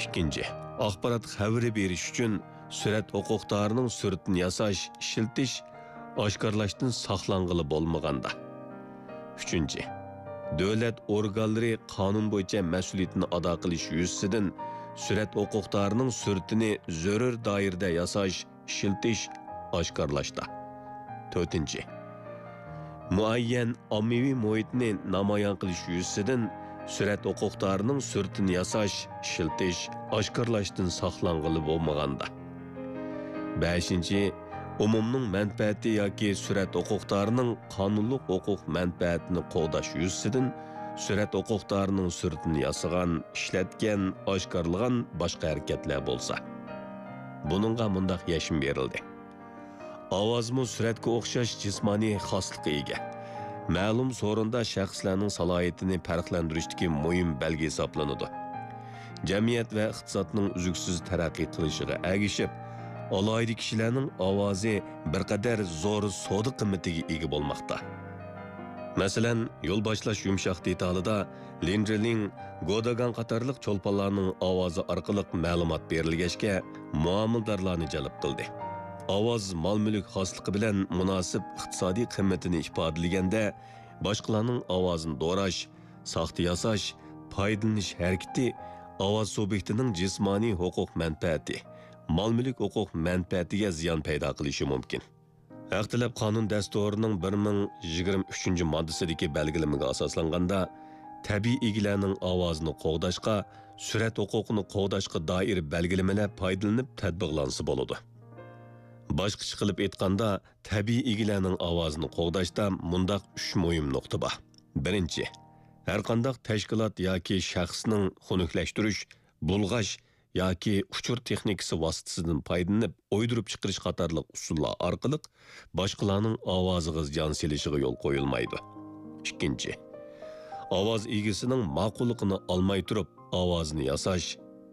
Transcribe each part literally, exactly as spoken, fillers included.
ئىككىنچى، ئاخبارات خەۋىرى بېرىش ئۈچۈن سۈرەت ھوقۇقدارىنىڭ سۈرىتىنى ياساش، ئىشلىتىش، ئاشكارىلاشتىن ساقلانغىلى بولمىغاندا. ئۈچىنچى، دۆلەت ئورگانلىرى قانۇن بويىچە مەسئۇلىيىتىنى ئادا قىلىش يۈزىسىدىن سۈرەت ھوقۇقدارىنىڭ سۈرىتىنى زۆرۈر دائىرىدە ياساش، ئىشلىتىش، ئاشكارىلاشتا. تۆتىنچى، مۇئەييەن ئاممىۋى مۇھىتنى نامايان قىلىش يۈزىسىدىن سۈرەت ھوقۇقدارىنىڭ سۈرىتىنى ياساش، ئىشلىتىش، ئاشكارىلاشتىن ساقلانغىلى بولمىغاندا. بەشىنچى، ئومۇمنىڭ مەنپەئەتى ياكى سۈرەت ھوقۇقدارىنىڭ قانۇنلۇق ھوقۇق مەنپەئەتىنى قوغداش يۈزىسىدىن سۈرەت ھوقۇقدارىنىڭ سۈرىتىنى ياسىغان، ئىشلەتكەن، ئاشكارىلىغان باشقا ھەرىكەتلەر بولسا. بۇنىڭغا مۇنداق يەشمە بېرىلدى. ئاۋازمۇ سۈرەتكە ئوخشاش جىسمانىي خاسلىققا ئىگە. مەلۇم سورۇندا شەخسلەرنىڭ سالاھىيىتىنى پەرقلەندۈرۈشتىكى مۇھىم بەلگە ھېسابلىنىدۇ. جەمئىيەت ۋە ئىقتىسادنىڭ ئۈزلۈكسىز تەرەققىي قىلىشىغا ئەگىشىپ، ئالاھىدە كىشىلەرنىڭ ئاۋازى بىر قەدەر زور سودا قىممىتىگە ئىگە بولماقتا. مەسىلەن، يول باشلاش يۇمشاق دېتالىدا لىن جىلىڭ، گوداگاڭ قاتارلىق چولپانلارنىڭ ئاۋازى ئارقىلىق مەلۇمات بېرىلگەچكە، مۇئامىلىدارلارنى جەلپ قىلدى. ئاۋاز مال-مۈلۈك خاسلىقى بىلەن مۇناسىپ ئىقتىسادىي قىممىتىنى ئىپادىلىگەندە، باشقىلارنىڭ ئاۋازىنى دوراش، ساختا ياساش، پايدىلىنىش ھەرىكىتى ئاۋاز سۇبيېكتىنىڭ جىسمانىي ھوقۇق مەنپەئەتى، مال-مۈلۈك ھوقۇق مەنپەئەتىگە زىيان پەيدا قىلىشى مۇمكىن. ھەق تەلەپ قانۇن دەستۇرىنىڭ بىر مىڭ يىگىرمە ئۈچىنچى ماددىسىدىكى بەلگىلىمىگە ئاساسلانغاندا، تەبىئىي ئىگىلەرنىڭ ئاۋازىنى قوغداشقا، سۈرەت ھوقۇقىنى قوغداشقا دائىر بەلگىلىمىلەر پايدىلىنىپ تەتبىقلانسا بولىدۇ. باشقىچە قىلىپ ئېيتقاندا، تەبىئىي ئىگىلەرنىڭ ئاۋازىنى قوغداشتا مۇنداق ئۈچ مۇھىم نۇقتا بار. بىرىنچى، ھەرقانداق تەشكىلات ياكى شەخسنىڭ خۇنۈكلەشتۈرۈش، بۇلغاش ياكى ئۇچۇر تېخنىكىسى ۋاسىتىسىدىن پايدىلىنىپ ئويدۇرۇپ چىقىرىش قاتارلىق ئۇسۇللار ئارقىلىق باشقىلارنىڭ ئاۋازىغا زىيان سېلىشىغا يول قويۇلمايدۇ. ئىككىنچى، ئاۋاز ئىگىسىنىڭ ماقۇللۇقىنى ئالماي تۇرۇپ ئاۋازىنى ياساش،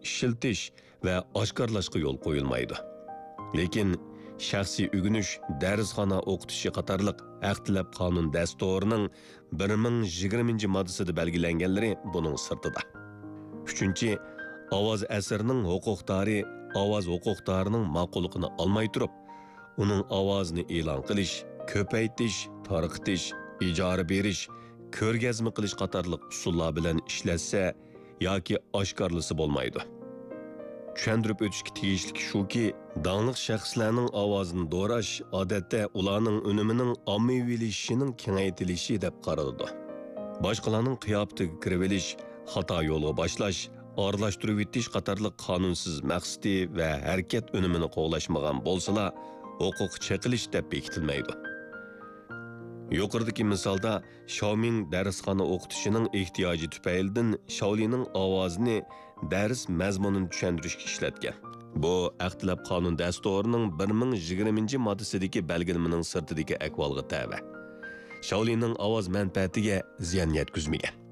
ئىشلىتىش ۋە ئاشكارىلاشقا يول قويۇلمايدۇ. لېكىن شەخسىي ئۆگىنىش، دەرسخانا ئوقۇتۇشى قاتارلىق ھەق تەلەپ قانۇن دەستۇرىنىڭ بىر مىڭ يىگىرمىنچى ماددىسىدا بەلگىلەنگەنلىرى بۇنىڭ سىرتىدا. ئۈچىنچى، ئاۋاز ئەسىرىنىڭ ھوقۇقدارى ئاۋاز ھوقۇقدارىنىڭ ماقۇللۇقىنى ئالماي تۇرۇپ، ئۇنىڭ ئاۋازىنى ئېلان قىلىش، كۆپەيتىش، تارقىتىش، ئىجارە بېرىش، كۆرگەزمە قىلىش قاتارلىق ئۇسۇللار بىلەن ئىشلەتسە ياكى ئاشكارىلىسا بولمايدۇ. چۈشەندۈرۈپ ئۆتۈشكە تېگىشلىكى شۇكى، داڭلىق شەخسلەرنىڭ ئاۋازىنى دوراش، ئادەتتە، ئۇلارنىڭ ئۈنۈمىنىڭ ئاممىۋىلىشىشىنىڭ كېڭەيتىلىشى دەپ قارىلىدۇ. باشقىلارنىڭ قىياپىتىگە كىرىۋېلىش، خاتا يولغا باشلاش، ئارىلاشتۇرۇۋېتىش قاتارلىق قانۇنسىز مەقسىتى ۋە ھەرىكەت ئۈنۈمىنى قوغلاشمىغان بولسىلا، ھوقۇق چېقىلىش دەپ بېكىتىلمەيدۇ. يۇقىرىدىكى مىسالدا، شياۋمىڭ دەرسخانا ئوقۇتۇشىنىڭ ئېھتىياجى تۈپەيلىدىن شاۋلىنىڭ ئاۋازىنى دەرس مەزمۇنىنى چۈشەندۈرۈشكە ئىشلەتكەن. بۇ ھەق تەلەپ قانۇن دەستۇرىنىڭ بىر مىڭ يىگىرمىنچى ماددىسىدىكى بەلگىلىمىنىڭ سىرتىدىكى ئەھۋالغا تەۋە. شاۋلىنىڭ ئاۋاز مەنپەئەتىگە زىيان يەتكۈزمىگەن.